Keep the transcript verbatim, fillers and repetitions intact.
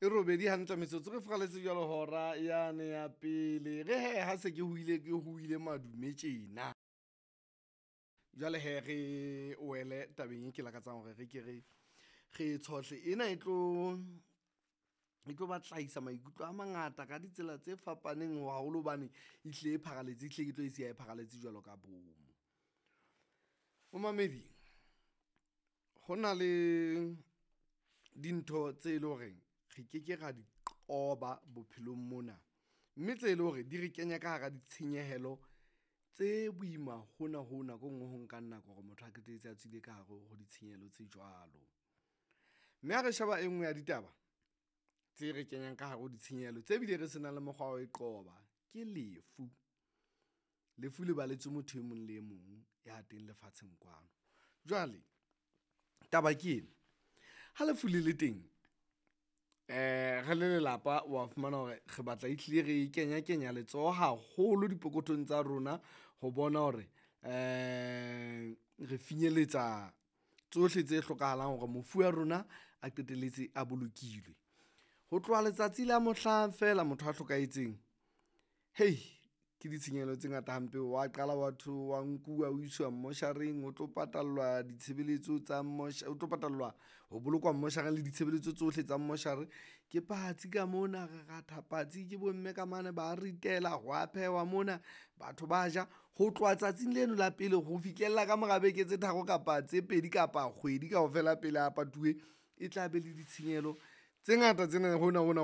E robedi hantle metsotso re furaletse jwalo hora yane ya pele. Re he ha se ke hoile ke hoile madume tjena. Jwale he re wele tabeng e ke lakatsang hore re ke re re tshohle. Ena e tlo e tlo batla maikutlo a mangata ka ditsela tse fapaneng haholo hobane ehlile e pharaletse, ehlile ke tlo e siya e pharaletse jwalo ka bomo. Momamedi, ho na le dintho tse leng hore re keke ra di qoba bophelong mona, mme tse leng hore di re kenya ka hara ditshenyehelo tse boima hona hoo nako e nngwe ho nkang nako hore motho a qetelletse a tswile ka hare ho ditshenyehelo tse jwalo. Mme ha re sheba e nngwe ya ditaba tse re kenyang ka hare ho ditshenyehelo tse bile re senang le mokgwa wa ho e qoba, ke lefu. Lefu le balletswe motho e mong le e mong ya teng lefatsheng kwano. Jwale taba ke ena, ha lefu le le teng re le lelapa wa fumana hore re batla ehlile re kenya kenya letsoho haholo dipokothong tsa rona ho bona hore re finyeletsa tsohle tse hlokahalang hore mofu wa rona a qetelletse a bolokilwe. Ho tloha letsatsi la mohlang feela motho a hlokahetseng, ke ditshenyehelo tse ngata hampe. Wa qala wa wa nkuwa o iswa mmoshareng o tlo patallwa ditshebeletso tsa ho tlo patallwa ho bolokwa mmoshareng le ditshebeletso tsohle tsa mmoshare. Ke patsi ka mona, re ratha patsi ke bo mme ka mane ba ritela, ho wa phehwa mona, batho ba ja. Ho tloha tsatsing leno la pele ho fihlella ka mora beke tse tharo kapa tse pedi kapa kgwedi kaofela pele a patuwe, e tla be le ditshenyehelo tse ngata tsena hona hona.